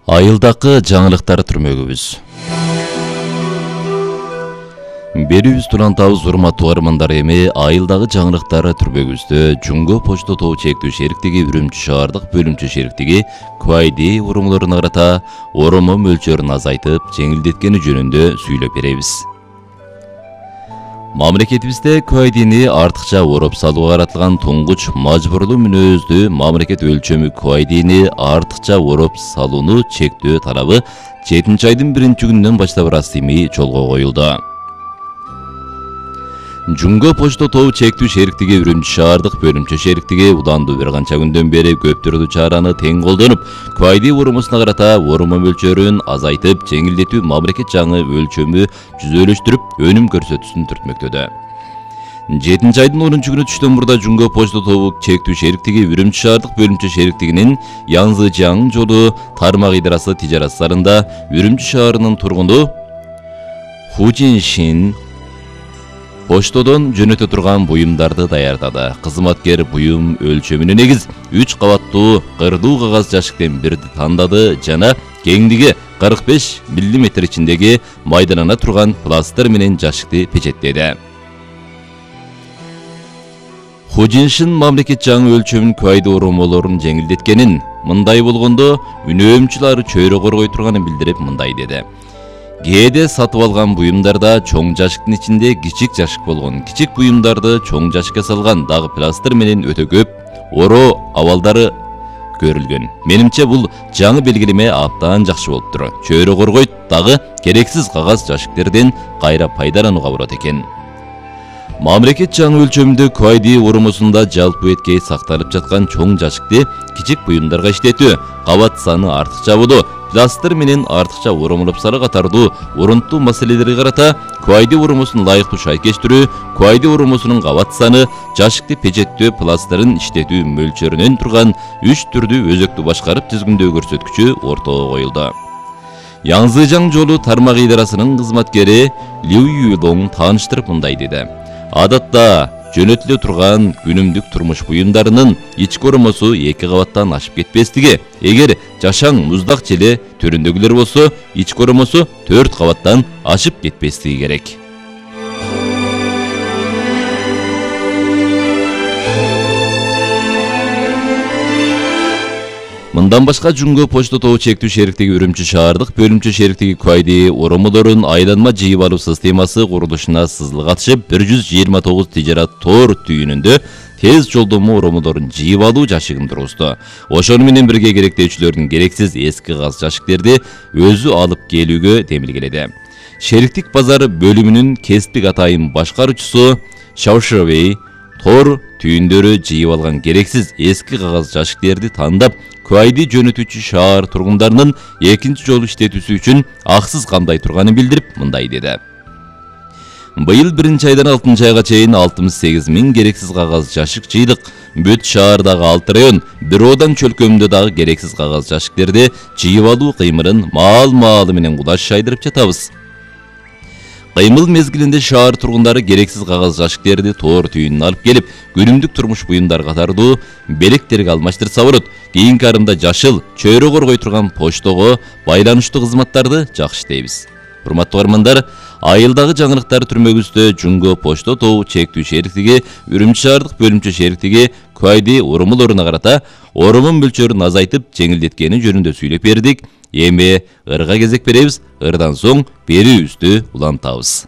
Айылдакы жаңылыктар түрмөгүбүз. Берүүбүз улантабыз урматтуу армандар, эми айылдагы жаңылыктар түрмөгүбүздө Жумго почта тобу чектүү шериктиги Үрүмчү шаардык бөлүмчө шериктиги QID уромдоруна карата оромо мөлчөрүн азайтып, жеңилдеткени жөнүндө сүйлөп беребиз. Мамлекетибизде QID'ни артыкча ороп салууга каратылган туңгуч мажбурлуу мүнөздүү мамлекет өлчөмү QID'ни артыкча ороп салууну чектөө талабы 7-айдын 1-күнүнөн баштап расмий жолго коюлду. Жумго почта тобу чектүү шериктиги Үрүмчү шаардык бөлүмчө шериктиги удандуу бир канча күндөн бери көп түрдүү чараны тең колдонуп, QID уромусуна карата оромо мөлчөрүн азайтып, жеңилдетүү мамлекет жаңы өлчөмү жүзөлөштүрүп, өнүм көрсөтүүсүн түртмөктөдө. 7-айдын 10-күнү түштөн мурда Жумго почта тобу чектүү шериктиги Үрүмчү шаардык бөлүмчө шериктигинин Янзыжаң жолу тармак идарасы тижараттарында Үрүмчү шаарынын тургуну Хужиншин поштодон жөнөтө турган буюмдарды даярдады. Кызматкер буюм өлчөмүнө негиз 3 кабаттуу кырдуу кагаз жашыктын бирди тандады жана кеңдиги 45 мм ичиндеги майдалана турган пластыр менен жашыкты печеттеди. Хужиншин мамлекет жаңы өлчөмүн QID оромолорун жеңилдеткенин, мындай болгондо үнөөмчүлөр чөйрө коргой турганын билдирип мындай деди. Кээде сатып алган буюмдарда чоң жашыктын ичинде кичик жашык болгон. Кичик буюмдарды чоң жашыкка салган дагы пластыр менен өтө көп оро абалдары көрүлгөн. Менимче бул жаңы белгилеме абдан жакшы болуптур. Чөйрө коргойт, дагы керексиз кагаз жашыктерден кайра пайдаланууга болот экен. Мамлекет жаңы өлчөмүндө QID оромосунда жалпы эткей сакталып жаткан чоң жашыкты кичик буюмдарга иштетүү, кабат саны артыкча болуу, пластыр менен артыкча оромолоп салуу катардуу орунттуу маселелерге карата QID оромосун ылайыктуу шайкештирүү, QID оромосунун кабат саны, жашыкты печеттөө пластырын иштетүү мөлчөрүнөн турган 3 түрдүү өзөктү башкарып тизгиндөө көрсөткүчү ортого коюлду. Янзыжаң жолу тармак идарасынын кызматкери Лю Юдоң тааныштырып мындай деди. Адатта жөнөтүлө турган күнүмдүк турмуш буюмдарынын ички оромосу 2 кабаттан ашып кетпестиги, эгер жашаң муздак желе түрүндөгүлөр болсо, ички оромосу 4 кабаттан ашып кетпестиги керек. Мындан башка Жумго почта тобу чектүү шериктиги Үрүмчү шаардык бөлүмчө шериктиги QID оромолорун айланма жыйып алуу системасы курулушуна сызыл катышып, 129 тижарат тор түйүнүндө тез жолдомо оромолорун жыйып алуу жашыгын тургузду. Ошону менен бирге керектөөчүлөрдүн керексиз эски кагаз жашыктерди өзү алып келүүгө демилгеледи. Шериктик базар бөлүмүнүн кесиптик атайын башкаруучусу Шаушевей тор түйүндөрү жыйып алган керексиз эски кагаз жашыктерди тандап, QID жөнөтүүчү шаар тургундарынын экинчи жолу иштетүүсү үчүн аксыз камдай турганын билдирип мындай деди. Быйыл 1-айдан 6-айга чейин 68 000 керексиз кагаз жашык жыйдык. Бүт шаардагы 6 район, бир одан чөлкөмүндө дагы керексиз кагаз жашыктерди жыйып алуу кыймылын маал-маалы менен кудаш шайдырып жатабыз. Кыймыл мезгилинде шаар тургундары керексиз кагаз жашыктерди тор түйүнүнө алып келип, күнүмдүк турмуш буюмдар катардуу белектерге алмаштырса болот. Кийинки арымда жашыл, чөйрө коргой турган поштого байланыштуу кызматтарды жакшы иштейбиз. Урматтуу армандар, айылдагы жаңылыктар түрмөгүбүздө Жумго почта тобу чектүү шериктиги Үрүмчү шаардык бөлүмчө шериктиги QID оромолоруна карата оромо мөлчөрүн азайтып, жеңилдеткени жөнүндө сүйлөп бердик. Эми ырга кезек беребиз, ырдан соң берүүбүздү улантабыз.